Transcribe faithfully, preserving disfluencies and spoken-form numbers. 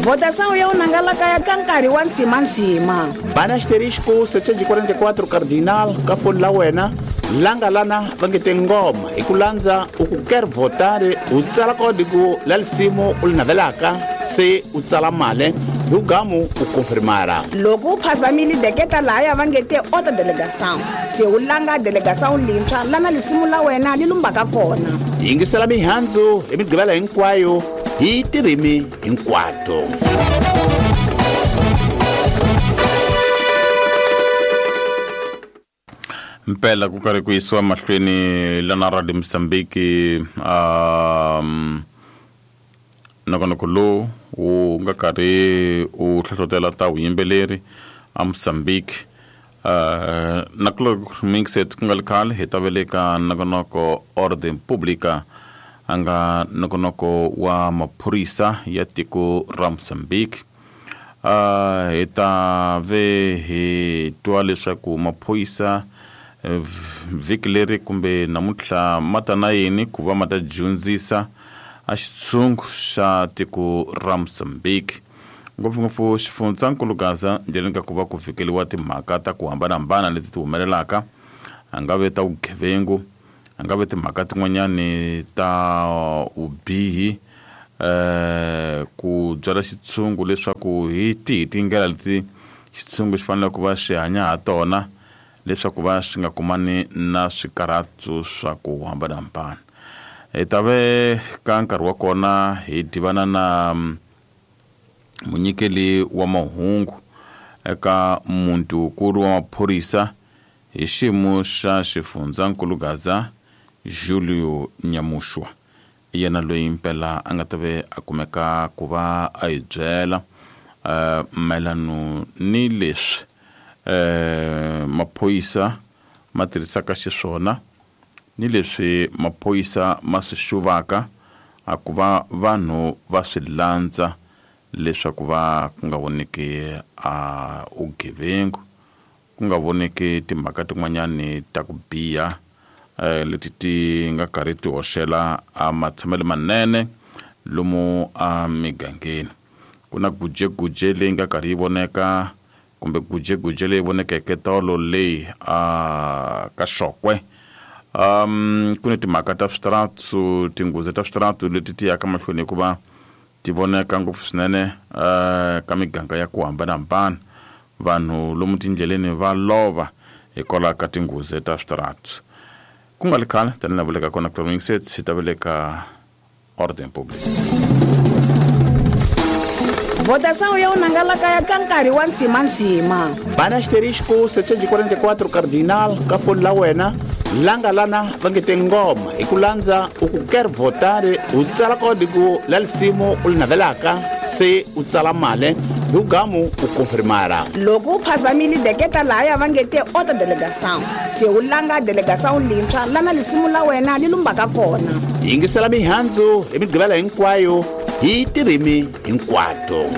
Votação ya unangalaka ya ka nkarhi wa ntsimantsima. Bana asterisco setecentos e quarenta e quatro cardinal ka foni la wena langa lana va nge te ngoma hi ku landza u ku quer votar u tsala código la lisimu u li navelaka se u tsala mali hi ugamu u confirmara. Loko u phazamile deketa lahaya va nge te outra delegação se u langa delegação lintshwa lana lisimu la wena li lumbaka kona. Yingisela mihandzu hi migqivela hinkwayo hi tirimi hinkwato. Mpela ku karhi ku yisiwa mahlweni lana Radio Mozambique um nongonoko lowu wu nga karhi wu hlohlotela ta vuyimbeleri a Mozambique. Uh, na ku mixet ku nga ri khale hi ta veleka nongonoko Ordem Pública a nga nongonoko wa maphorisa ya tiko ra Mozambique. Uh, hi ta ve hi twa leswaku maphorisa vhiki leri kumbe namuntlha ma ta na yini ku va ma ta dyondzisa a xitshungu xa tiko ra Mozambique, ngopfungopfu xifundzankulu Gaza ndleleni ka ku va ku fikeliwa timhaka ta ku hambanahambana leti ti humelelaka, a nga ve ta vugevengu, a nga ve timhaka tin'wanyani ta vubihi, eh ku byala xitshungu leswaku hi tihi tindlela leti xitshungu xi fanele ku va xi hanya ha tona leswaku va swi nga kumani na swikarhatu swa ku hambanahambana. Hi ta ve ka nkarhi wa kona hi tivana na munyikeli wa mahungu eka muntukulu wa maphorisa hi xiyimo xa xifundzankulu Gaza, Julio Nyamushwa, yena loyi mpela a nga ta ve a kumeka ku va a hi byela uh, mayelano ni leswi eh maphorisa ma tirhisaka xiswona ni leswi maphorisa ma swi xuvaka a ku va vanhu va swi landza leswaku va ku nga voneki a vugevengu, ku nga voneki timhaka tin'wanyani ta ku biha eh leti ti nga karhi ti hoxela a matshamelo manene lomu a migangeni. Ku na gujeguje leyi nga karhi yi voneka kumbe gujeguje leyi vonekeke tolo leyi a ka Xokwe. Um ku ni timhaka ta switaratu, tinghozi ta switaratu leti ti yaka mahlweni hikuva ti voneka ngopfu swinene uh, ka miganga ya ku hambanahambana. Vanhu lomu tindleleni va lova hikwalaho ka tinghozi ta switaratu. Ku nga ri khale tanihi laha vuleka kona Mixet hi ta veleka Ordem Pública. Votação ya unangalaka ya ka nkarhi wa ntsimantsima. Bana asterisco setecentos e quarenta e quatro cardinal ka foni la wena langa lana va nge te ngoma hi ku landza u ku quer votar u tsala código la lisimu u li navelaka se u tsala mali hi ugamu u confirmara. Loko u phazamile deketa lahaya va nge te outra delegação se u langa delegação lintshwa lana lisimu la wena li lumbaka kona. Yingisela mihandzu hi migqivela hinkwayo hi tirimi hinkwato.